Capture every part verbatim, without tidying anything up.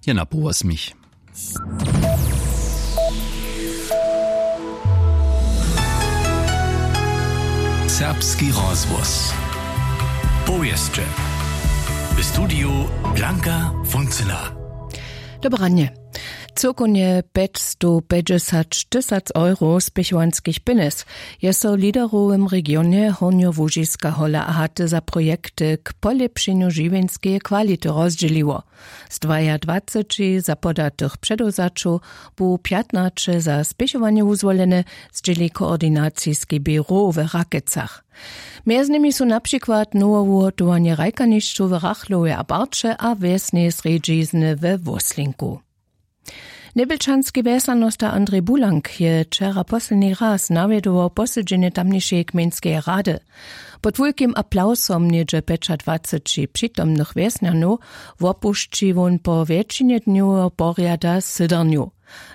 Je na połosmich. Serbski rozhłos. Powěsće. W studiju Blanka Funcyna. Dobranje. Cyłkownje pjećstowpjećdźesać tysac euro spěchowanskich pjenjez je so w liderowym regionje Hornjołužiska Hola a Haty za projekty k polěpšenju žiwjenskeje kwality rozdźěliło. Z dwajadwaceći zapodatych předewzaćow bu pjatnaće za spěchowanje wuzwolene, zdźěli koordinaciski běrow w Rakecach. Mjez nimi su na přikład nowe wuhotowanje hrajkanišćow w Rachlowje a Barće a wjesneje srjedźizny we Wóslinku. Njebjelčanski wjesnjanosta Andrej Bulank je wčera posledni raz nawjedował posedźenje tamnišeje gmejnskeje rady. Pod wulkim aplawsom něhdźe pjećadwaceći přitomnych wjesnjanow wopušći wón po wjetšinje dnjoweho porjada sydarnju.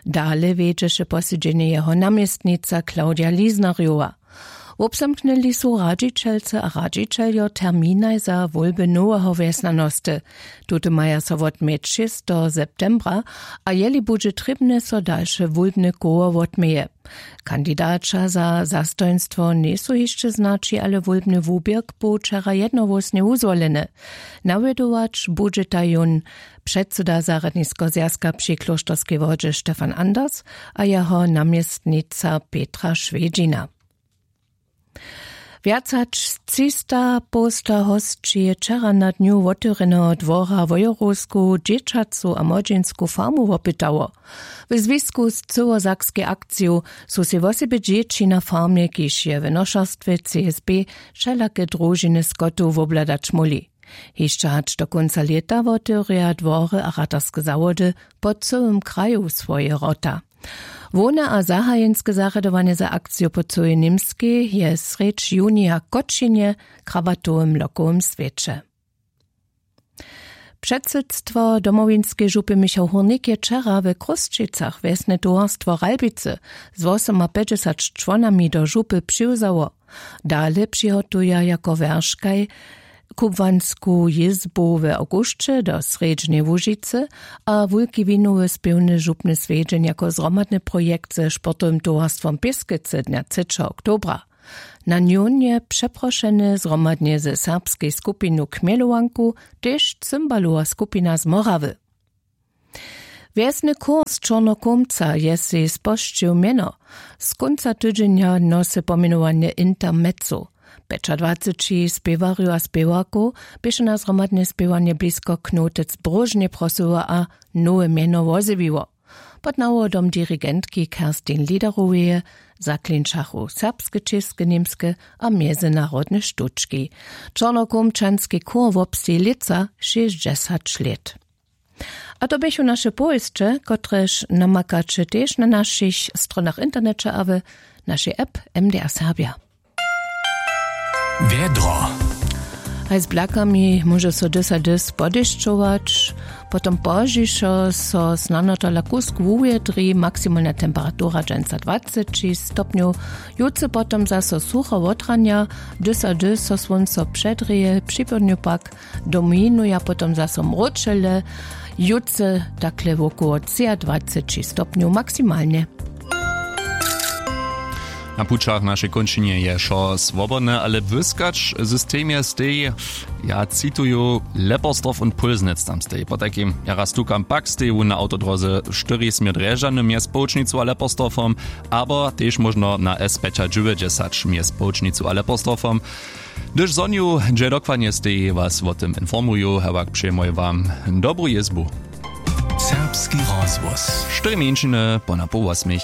Dale wjedźeše posedźenje jeho namjestnica Claudia Liznarjowa. Wobzamknyli su radźićelce a radźićeljo terminaj za wólby noweho wjesnjanosty. Tute maja so wotměć šesteho septembra, a jeli budźe trěbne, so dalše wólbne koło wotměje. Kandidaća za zastojnstwo njejsu hišće znaći, ale wólbny wuběrk bu wčera jednohłósnje wuzwoleny. Nawjedować budźeta jón předsyda zarjadniskeho zwjazka při klóšterskej wodźe Stefan Anders a jeho namjestnica Petra Šwjedźina. Wjac hač třista połsta hosći je wčera na dnju wotewrjeneho dwora Wojerowsku dźěćacu a młodźinsku farmu wopytało. W zwisku z cyłosakskej akciju su sej wosebje dźěći na farmje, kiž je w nošerstwje C S B, wšelake družiny skotow wobhladać móhli. Hišće hač do kónca lěta wotewrja dwory a ratarske zawody po cyłym kraju swoje wrota. Hłowne a zahajenske zarjadowanje za akciju po cyłej Němskej je srjedź junija w Kotšinje, krabatowym lokowym swěće. Předsydstwo Domowinskeje župy Michał Hórnik je wčera w Chrósćicach wjesne towarstwo Ralbicy z wosomapjećdźesać čłonami do župy přiwzało. Dale přihotuja jako wjerškaj kubłansku jězbu w awgusće do Srjedźneje Łužicy a wulki winowy spěwny župny swjedźeń jako zhromadny projekt ze sportowym towarstwom Pěskecy dnja třećeho oktobra. Na njón je přeprošeny zhromadnje ze serbskej skupinu Chmjelowanku tež cymbalowa skupina z Morawy. Wjesny chór z Čornokomca je sej spožčił mjeno. Z kónca tydźenja nosy pomjenowanje Intermezzo. Pjećadwaceći spěwarjow a spěwarkow běše na zhromadne spěwanje blisko Knotec w Bróžnje prosyła a nowe mjeno wozjewiło. Pod nawodom dirigentki Kerstin Liederoweje zaklinčachu serbske, česke, němske a mjezynarodne štóčki. Čornokomčanski chór wobsteji lětsa šěsćdźesać lět. A to běchu naše powěsće, kotrež namakaće tež na našich stronach w interneće a w našej app M D R Serbja. Wjedro. Haj z blakami móže so dys a dys podešćować, potom pozdźišo so snano tola kusk wuwjedri, maksimalna temperatura dźensa dwaceći stopnjow. Jutře potom zaso sucho wotranja, dys a dys so słónco předrěje, při połdnju pak dominuja potom zaso mróčele. Jutře takle wokoło třiadwaceći stopnjow maksimalnje. Na pućach w našej kónčinje je wšo swobodne, ale błyskać w systemje steji, ja cituju, Leppersdorf und Pulsnitz tam steji. Potajkim jara stukam, pak steji wón na awtodróze štyri směr Drježdźany mjez Połčnicu a Leppersdorfom, abo tež móžno na S pjećadźewjećdźesać mjez Połčnicu a Leppersdorfom. Hdyž zhonił, hdźe dokładnje steji, was wo tym informuju, hewak přijemoj wam dobru jězbu. Serbski rozhłos. Štyri mjeńšiny po na poł wosmich.